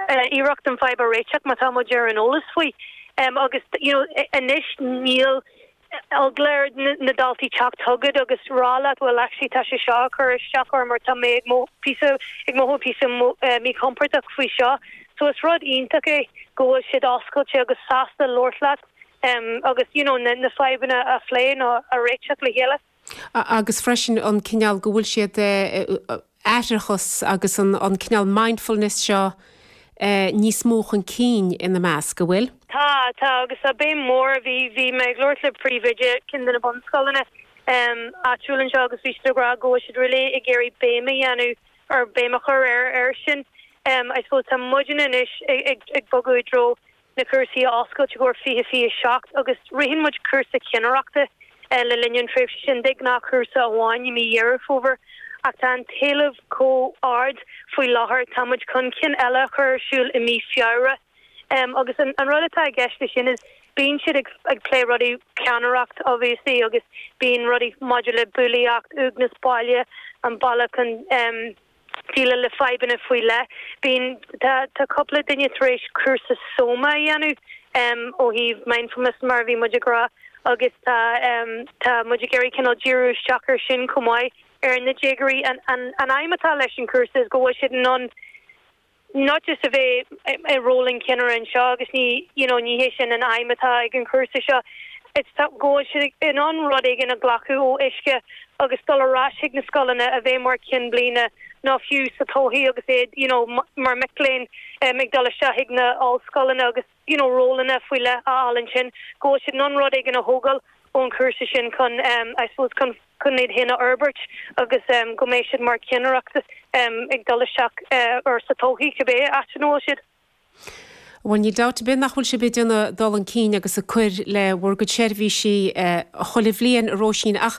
iarracht an fadhb a réiteach má tá muid ar an eolas faoi. Agus you know anois níl eagla ar na daltaí teacht chugat agus rá leat bhuel actually tá sé seo ag cur isteach orm or tá mé ag mothú píosa ag mothú píosa míchompordach faoi seo. So is rud iontach é go bhfuil siad oscailte agus sásta labhairt leat agus you know na fadhbanna a phlé nó a réiteach le chéile. Agus freisin an cineál go bhfuil siad aithreachas agus an cineál mindfulness seo níos mó chun cinn ina measc, an bhfuil? Tá, tá, agus tá béim mhór, bhí, bhí mé ag labhairt le príomhoide ceann de na bunscoileanna áitiúil anseo agus bhí siad ag rá go bhfuil siad really ag iarraidh béim a dhéanamh or béim a chur ar air sin. I suppose tá muidne anois ag ag bogadh i dtreo na cúrsaí a oscailt i gcomhair 2027 agus ritheann muid cúrsa ceannaireachta le linn an tréimhse sin, de ghnáth cúrsa amháin i mí Dheireadh Fómhair ach tá an t-éileamh chomh ard faoi láthair tá muid chun ceann eile a chur ar siúl i mí Feabhra agus an rud atá i gceist leis sin is bíonn siad ag plé rudaí ceannaireacht obviously agus bíonn rudaí maidir le bulaíocht, uaigneas baile, an bealach chun déileáil le fadhbanna faoi leith. Bíonn, tá, tá cúpla duine tar éis cúrsa Soma a dhéanamh ó thaobh mindfulness mar a bhí muid ag rá agus tá, tá muid ag iarraidh cineál díriú isteach ar sin chomh maith ar na déagóirí. An, an, an aidhm atá leis an chúrsa is go bhfuil siad in ann not just a bheith i ról an cheannaire anseo agus ní, you know, ní hé sin an aidhm atá ag an chúrsa seo, it's go bhfuil siad in ann rud éigin a ghlacadh ó Uisce agus dul ar ais chuig na scoileanna a bheith mar chinn bliana nó fiú sa todhchaí agus iad, you know, mar mic léinn ag dul isteach chuig na ollscoileanna agus, you know, rólanna faoi leith a fháil ansin, go bhfuil siad in ann rud éigin a thógáil ón chúrsa sin chun, I suppose, chun chun iad féin a fhorbairt agus go mbeidh siad mar cheannaireacht ag dul isteach or sa todhchaí cibé áit ina bhfuil siad. Bhuel, níl dabht ar bith nach bhfuil sibh ag déanamh dul chun cinn agus ag cur le bhur gcuid seirbhísí chuile bhliain, a Róisín, ach.